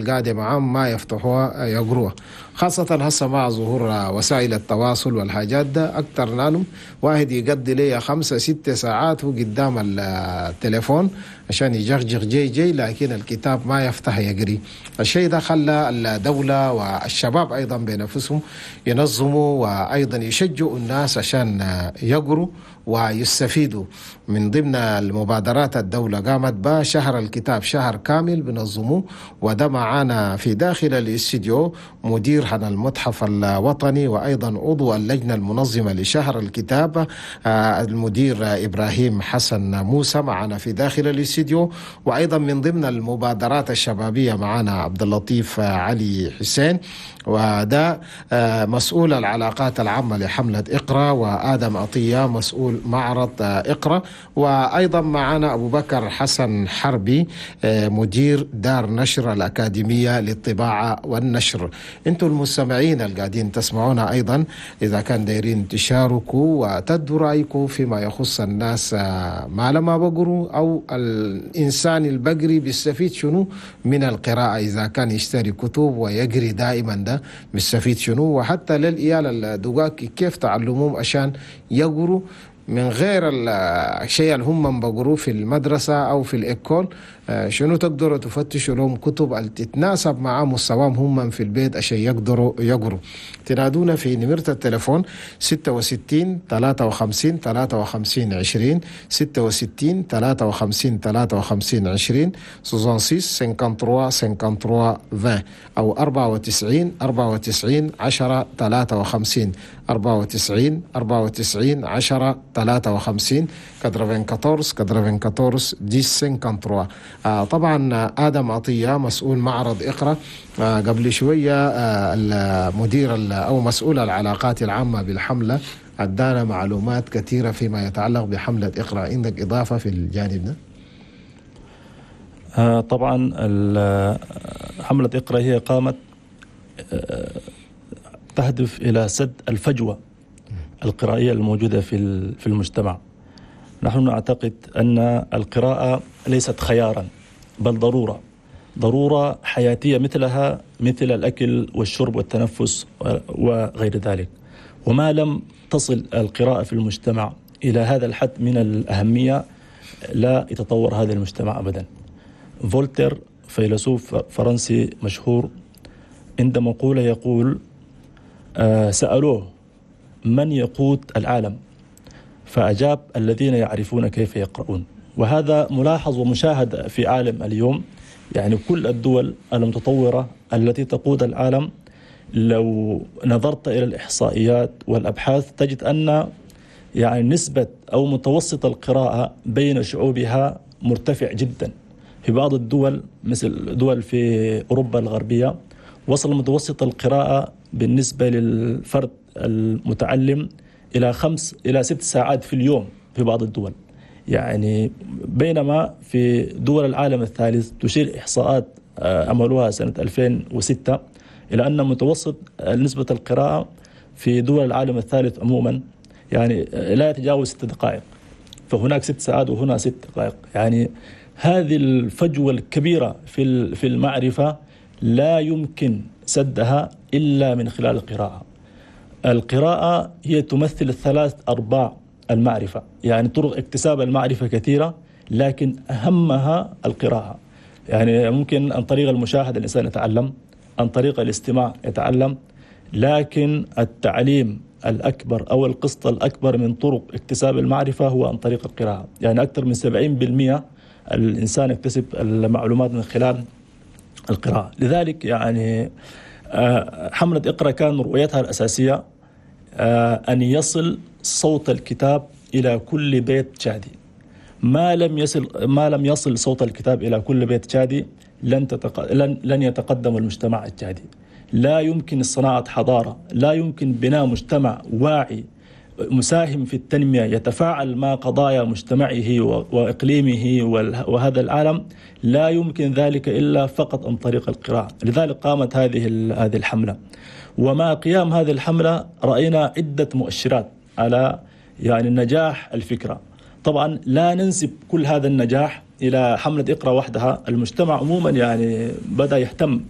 القاعدة معاهم ما يفتحوها يقروها، خاصة هسه مع ظهور وسائل التواصل والحاجات ده أكتر. نانو واحد يقضي لي 5 6 ساعات هو قدام التليفون عشان يجغجغ جي جي، لكن الكتاب ما يفتح يقري. الشيء ده خلى الدولة والشباب أيضا بنفسهم ينظموا وأيضا يشجعوا الناس عشان يقروا ويستفيدوا. من ضمن المبادرات الدولة قامت بشهر الكتاب، شهر كامل بنظموه. وده معانا في داخل الاستديو مدير هنا المتحف الوطني وأيضا عضو اللجنة المنظمة لشهر الكتاب، المدير إبراهيم حسن موسى معنا في داخل الاستديو. وأيضا من ضمن المبادرات الشبابية معنا عبد اللطيف علي حسين، وده مسؤول العلاقات العامة لحملة اقرأ، وآدم عطية مسؤول معرض اقرأ، وأيضا معنا أبو بكر حسن حربي مدير دار نشر الأكاديمية للطباعة والنشر. انتم المستمعين القاعدين تسمعونا أيضا، إذا كان دايرين تشاركوا وتدوا رأيكم فيما يخص الناس ما لما بقروا، أو الإنسان البقري بيستفيد شنو من القراءة، إذا كان يشتري كتب ويقري دائما ده بيستفيد شنو، وحتى للعيال الدقاق كيف تعلموهم عشان يقروا من غير الشيء اللي هم بقروه في المدرسة أو في ال école. شنو تقدروا تفتشوا لهم كتب اللي تتناسب مع مستواهم هم في البيت عشان يقدروا يقروا. تنادونا في نمرة التليفون 66 53 53 20، 66 53 53 20، 66 53 53 20، أو 94 94 10 53، 94 94 10 53، 94 94 10 53. طبعا آدم عطية مسؤول معرض اقرأ، قبل شوية المدير أو مسؤول العلاقات العامة بالحملة أدانا معلومات كثيرة فيما يتعلق بحملة اقرأ. عندك إضافة في الجانب ده؟ طبعا حملة اقرأ هي قامت تهدف إلى سد الفجوة القرائية الموجودة في المجتمع. نحن نعتقد أن القراءة ليست خيارا بل ضرورة، ضرورة حياتية مثلها مثل الأكل والشرب والتنفس وغير ذلك. وما لم تصل القراءة في المجتمع إلى هذا الحد من الأهمية لا يتطور هذا المجتمع أبدا. فولتر فيلسوف فرنسي مشهور عند مقولة يقول، سألوه: من يقود العالم؟ فأجاب: الذين يعرفون كيف يقرؤون. وهذا ملاحظ ومشاهد في عالم اليوم، يعني كل الدول المتطورة التي تقود العالم لو نظرت إلى الإحصائيات والأبحاث تجد أن يعني نسبة أو متوسط القراءة بين شعوبها مرتفع جدا. في بعض الدول مثل دول في أوروبا الغربية وصل متوسط القراءة بالنسبة للفرد المتعلم إلى 5 إلى 6 ساعات في اليوم في بعض الدول، يعني بينما في دول العالم الثالث تشير إحصاءات عملوها سنة 2006 إلى أن متوسط نسبة القراءة في دول العالم الثالث عموما يعني لا يتجاوز 6 دقائق. فهناك 6 ساعات وهنا 6 دقائق. يعني هذه الفجوة الكبيرة في المعرفة لا يمكن سدها إلا من خلال القراءة. القراءة هي تمثل ثلاث أرباع المعرفة، يعني طرق اكتساب المعرفة كثيرة لكن أهمها القراءة. يعني ممكن عن طريق المشاهدة الإنسان يتعلم، عن طريق الاستماع يتعلم، لكن التعليم الأكبر أو القسط الأكبر من طرق اكتساب المعرفة هو عن طريق القراءة. يعني أكثر من 70% الإنسان يكتسب المعلومات من خلال القراءة. لذلك يعني حملة اقرأ كان رؤيتها الأساسية أن يصل صوت الكتاب إلى كل بيت تشادي. ما لم يصل صوت الكتاب إلى كل بيت تشادي لن يتقدم المجتمع التشادي. لا يمكن صناعة حضارة، لا يمكن بناء مجتمع واعي مساهم في التنمية يتفاعل مع قضايا مجتمعه وإقليمه وهذا العالم، لا يمكن ذلك إلا فقط عن طريق القراءة. لذلك قامت هذه الحملة. ومع قيام هذه الحملة رأينا عدة مؤشرات على يعني نجاح الفكرة. طبعا لا ننسب كل هذا النجاح إلى حملة اقرأ وحدها، المجتمع عموما يعني بدأ يهتم.